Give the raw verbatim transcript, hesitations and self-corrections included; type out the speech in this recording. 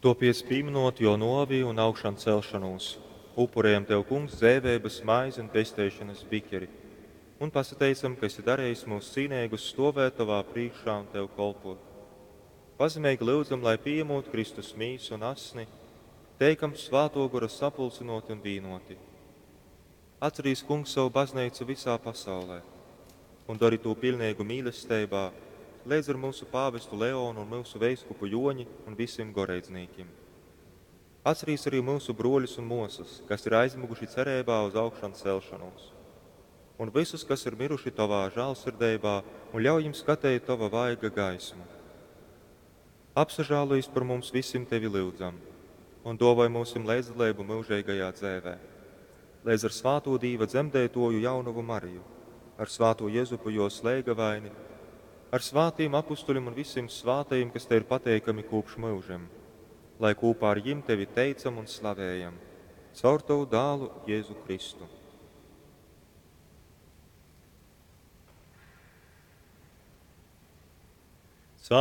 Topiec pīminot Jō nōvi un augšancelšonūs, upurējam Tev, Kungs, dzeiveibas maizi un pesteišonas bikeri, un pasateicam, ka esi darejis mūs cīneigus stovēt Tovā prīškā un Tev kolpot. Pazemeigi lyudzam, lai pījemūt Kristus mīsu un asni, teikam Svātō Gora sapulcynōti un vīnōti. Atcerīs, Kungs, savu bazneicu visā pasaulē un dori tū piļneigu mīlesteibā, leidz ar mūsu pāvestu Leonu un myusu veiskupu Joņi un visiem goreidznīkim. Atcerīs arī mūsu broļus un mosas, kas ir aizmuguši cerībā uz augšancelšanos, un visus, kas ir miruši Tavā žālsirdeibā, un ļauj viņiem skatīt Tava vaiga gaismu. Apsažālojies par mums visiem Tevi lyudzam, un dāvāj mums līdzdalību mūžīgajā dzēvē. Līdz ar svāto Dīva dzemdētoju jaunavu Mariju, ar svāto Jezupu jo slēgavaini, ar svātiem apustuļiem un visiem svātajiem, kas te ir pateikami kopš mūžiem, lai kopā ar jim tevi teicam un slavējam, caur tavu dālu Jēzu Kristu. Caur